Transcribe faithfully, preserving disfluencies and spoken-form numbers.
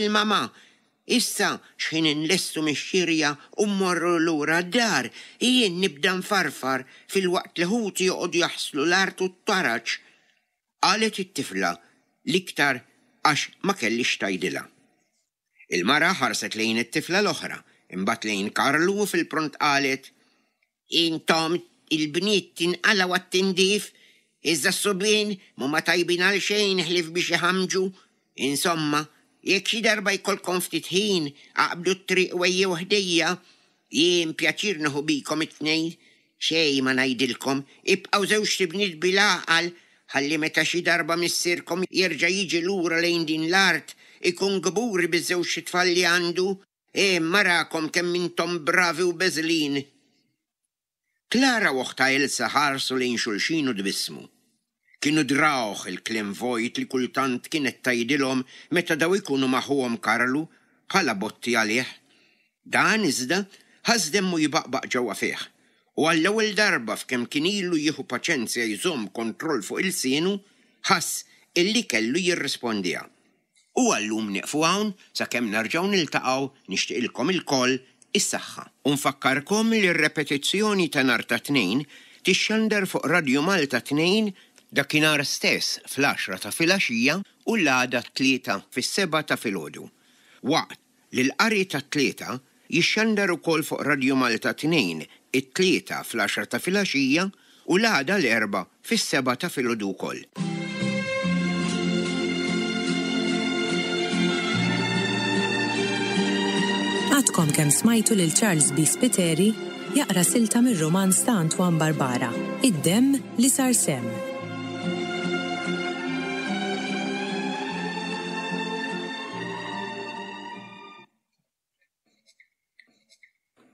Il-mamà, Issa x'ħin inlestu mix-xirja u mmorru lura d-dar, jien nibda nfarfar filwaqt li ħuti joqogħdu jaħslu l-art u t-taraġ, qalet it-tifla l-iktar għax ma kellhiex x'tgħidilha. Il-mara ħarset lejn it-tifla l-oħra, imbagħad lejn Karlu u fil-pront qalet, Intom il-bniet tinqalgħu għat-tindif, iżda s-subien m'huma tajbin għal xejn ħlief biex iħammġu. Insomma, jekk xi darba jkollkom ftit ħin, aqbdu t-triq u ejjew ħdejja. Jien pjaċir nieħu bikom it-tnejn. Xejn ma ngħidilkom, ibqgħu żewġt ibniet bil-għaqal, ħalli meta xi darba missierkom jerġa' jiġi lura lejn din l-art, ikun kburi biż-żewġt itfal li għandu. Hemm arakom kemm intom bravi u beżlin! Clara u oħtha Elsa ħarsu lejn xulxin u tbissmu. Kienu drawh il-kliem vojt li kultant kienet tgħidilhom meta daw ikunu ma' ħuhom Karlu, bħala botti għalih. Dan, iżda, ħass demmu jbaqbaq ġewwa fih, u għall-ewwel darba f'kemm kien ilu jieħu paċenzja jżomm kontroll fuq ilsienu, ħass illi kellu jirrispondiha. U għal-lum nieqfu hawn sakemm nerġgħu niltaqgħu nixtieqilkom ilkoll is-saħħa. U nfakkarkom li r-repetizzjoni ta' nhar ta' Tnejn tixxandar fuq Radju Malta tnejn dakinhar stess fl-għaxra ta' filgħaxija u l-għada t-Tlieta fis-sebgħa ta' filgħodu. Waqt li l-qari tat-Tlieta jixxandar ukoll fuq Radju Malta tnejn it-Tlieta fl-għaxra ta' filgħaxija u l-għada l-Erbgħa fis-sebgħa ta' filgħodu wkoll. Għadkom kemm smajtu lil Charles B. Spiteri jaqra silta mir-rumanz ta' Antoine Barbara, Id-Demm li Sar Semm.